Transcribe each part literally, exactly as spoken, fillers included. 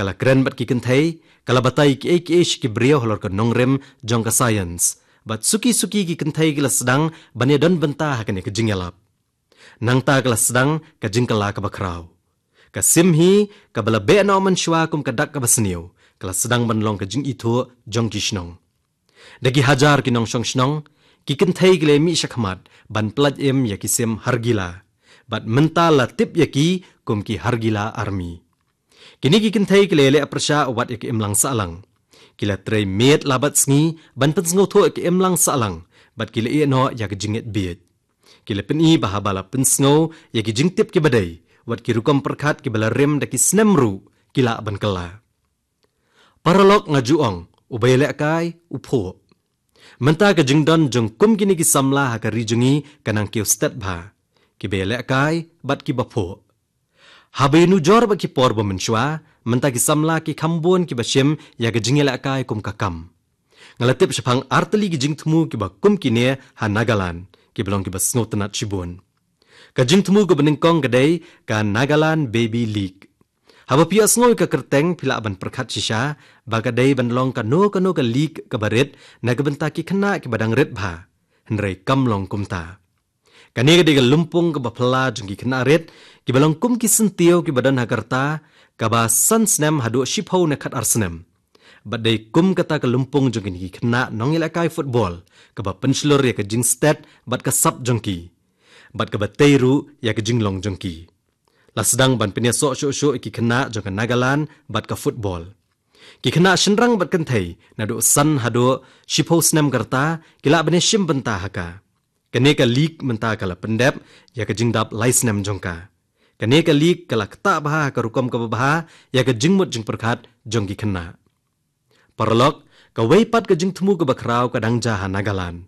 Ka la kren bad ki kynthei, ka la batai kiei kiei sha ki briew halor ka nongrim jong ka science. Bad suki suki ki kynthei ki la sdang ban ïadon bynta ha kane ka jingïalap. Nangta ka la sdang ka jingkylla kaba khraw. Ka sim hi, kaba la beh noh mynshuwa kum ka dak kaba sniew, ka la sdang ban long ka jingithuh jong ki shnong. Da ki hajar ki nongshong shnong, ki kynthei ki la mih shakhmat ban pyllait im ïa ki sim Hargila. Bad mynta la tip ïa ki kum ki Hargila Army. Kine ki kynthei ki la leh pyrshah wat ïa ka imlang sahlang. Ki la trei miet la bad sngi ban pynsngewthuh ïa ka imlang sahlang, bad ki la ïeh noh ïa ka jingngeit bieit. Ki la pyni ba haba la pynsngew ïa ki jingtip kiba dei, wat ki rukom pyrkhat kiba la rim da ki snem ruh, ki lah ban kylla. Paralok, nga ju ong, uba ïalehkai u phuh. Mynta ka jingdon jong kum kine ki samla ha ka ri jong ngi ka nang kiew stet bha. Kiba ïalehkai bad kiba phuh. Haba ïanujor bad ki por ba mynshuwa, mynta ki samla ki kham bun kiba shim ïa ka jingïalehkai kum ka kam. Nga la tip shaphang artylli ki jingthmu kiba kum kine ha Nagaland, kiba long kiba sngewtynnat shibun. Ka jingthmu kaba nyngkong ka dei ka Nagaland Baby League. Haba phi ïohsngew ïa ka kyrteng, phi lah ban pyrkhat shisha ba ka dei ban long kano kano ka league kaba rit na ka bynta ki khynnah kiba dang rit bha. Hynrei kam long kumta. Kane ka dei ka lympung kaba phylla jong ki khynnah rit, kiba long kum ki syntiew kiba don ha ka rta kaba san snem haduh shiphew ne khatar snem. Bad dei kum kata ka lympung jong kine ki khynnah nongïalehkai football, kaba pynshlur ïa ka jingstet bad ka sap jong ki, bad kaba tei ruh ïa ka jinglong jong ki. La sdang ban pynïasoh shuh shuh ïa ki khynnah jong ka Nagaland bad ka football. Ki khynnah shynrang bad kynthei naduh san haduh shiphew snem ka rta ki lah ban ïashim bynta ha ka. Kane ka league mynta ka la pyndep ïa ka jingdap lai snem jong ka. Kane ka league ka la ktah bha ha ka rukom kaba bha ïa ka jingmut jingpyrkhat jong ki khynnah. Paralok, kawei pat ka jingthmu kaba khraw ka dang jia ha Nagaland.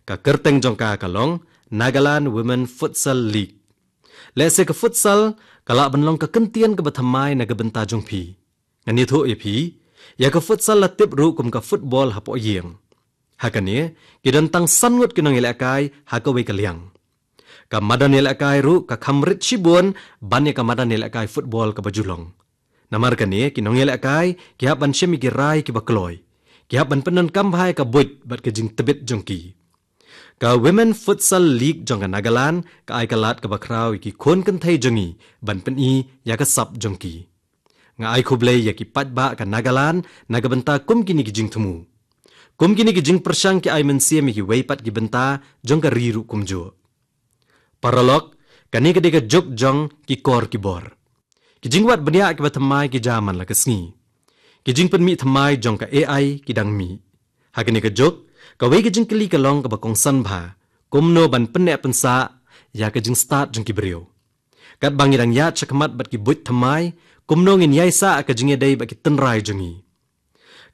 Ka kyrteng jong ka ka long Nagaland Women Futsal League. Lehse ka futsal ka lah ban long ka kyntien kaba thymmai na ka bynta jong phi. Ngan ïathuh ïa phi, ïa ka futsal la tip ruh kum ka football hapoh ïing. Ha kane, ki don tang san ngut ki nongïalehkai ha kawei ka liang. Ka madan ïalehkai ruh ka kham rit shibun ban ïa ka madan ïalehkai football kaba ju long. Namar kane, ki nongïalehkai ki hap ban shim ïa ki rai kiba kloi. Ki hap ban pyndonkam bha ïa ka buit bad ka jingtbit jong ki. Ka Women Futsal League jong ka Nagaland ka ai ka lad kaba khraw ïa ki khun kynthei jong ngi ban pyni ïa ka sap jong ki. Nga ai khublei ïa ki paidbah ka Nagaland na ka bynta kum kine ki jingthmu. Kum kine ki jingpyrshang ki ai mynsiem ïa kiwei pat ki bynta jong ka ri ruh kumjuh. Paralok, kane ka dei ka juk jong ki kor ki bor. Ki jingwad bniah kiba thymmai ki jia man la ka sngi. Ki jingpynmih thymmai jong ka A I ki dang mih. Ha kane ka juk, kawei ka jingkylli ka long kaba kongsan bha, kumno ban pynneh pynsah ïa ka jingstad jong ki briew. Katba ngi dang ïaid shakhmat bad ki buit thymmai, kumno ngin ïaisah ïa ka jingïadei bad ki tynrai jong ngi.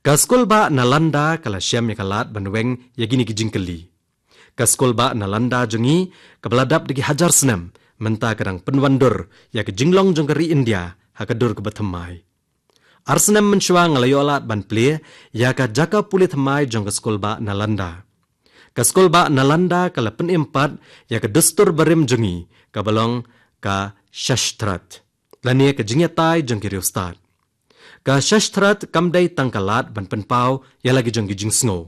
Ka skulbah Nalanda ka la shem ïa ka lad ban weng ïa kine ki jingkylli. Ka skulbah Nalanda jong ngi, kaba la dap da ki hajar snem, mynta ka dang pynwandur ïa ka jinglong jong ka ri India ha ka dur kaba thymmai. Ar snem mynshuwa nga la ïoh lad ban plie ïa ka jaka pule thymmai jong ka skulbah Nalanda. Ka skulbah Nalanda ka la pynim pat ïa ka dustur barim jong ngi, kaba long ka Shashtrat, lane ka jingïatai jong ki riewstad. Ka Shashtrat kam dei tang ka lad ban pynpaw ïa la ki jong ki jingsngew.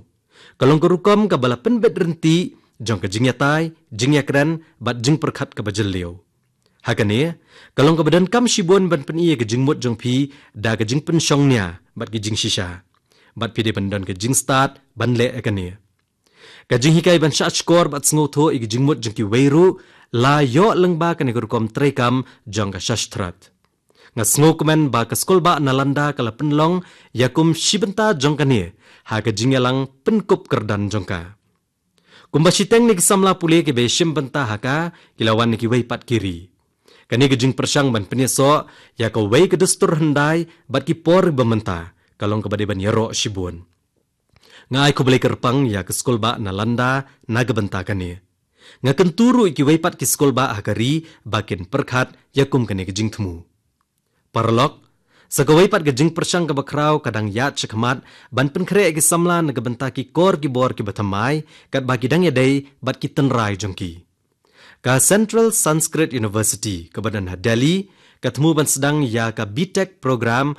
Ka long ka rukom kaba la pynbit ryntih jong ka jingïatai, jingïakren bad jingpyrkhat kaba jylliew. Ha kane, ka long kaba donkam shibun ban pyni ïa ka jingmut jong phi da ka jingpynshong nia bad ka jingshisha. Bad phi dei ban don ka jingstad ban leh ïa kane. Ka jinghikai ban shahshkor bad sngewthuh ïa ka jingmut jong kiwei ruh la ïoh lyngba kane ka rukom treikam jong ka Shashtrat. Nga sngewkmen ba ka skulbah Nalanda ka la pynlong ïa kum shi bynta jong kane ha ka jingïalang pynkup kyrdan jong ka. Kumba shiteng na ki samla pule kiba ïashim bynta ha ka ki la wan na kiwei pat ki ri. Kane ka jingpyrshang ban pynïasoh ïa kawei ka dustur hyndai bad ki por ba mynta ka long kaba dei ban ïaroh shibun. Nga ai khublei kyrpang ïa ka skulbah Nalanda na ka bynta kane. Nga kyntu ruh ïa kiwei pat ki skulbah ha ka ri ba kin pyrkhat ïa kum kane ka jingthmu. Paralok, sa kawei pat ka jingpyrshang kaba khraw ka dang ïaid shakhmat ban pynkhreh ïa ki samla na ka bynta ki kor ki bor kiba thymmai, katba ki dang ïadei bad ki tynrai jong ki. Ka Central Sanskrit University kaba don ha Delhi ka thmu ban sdang ïa ka B.Tech program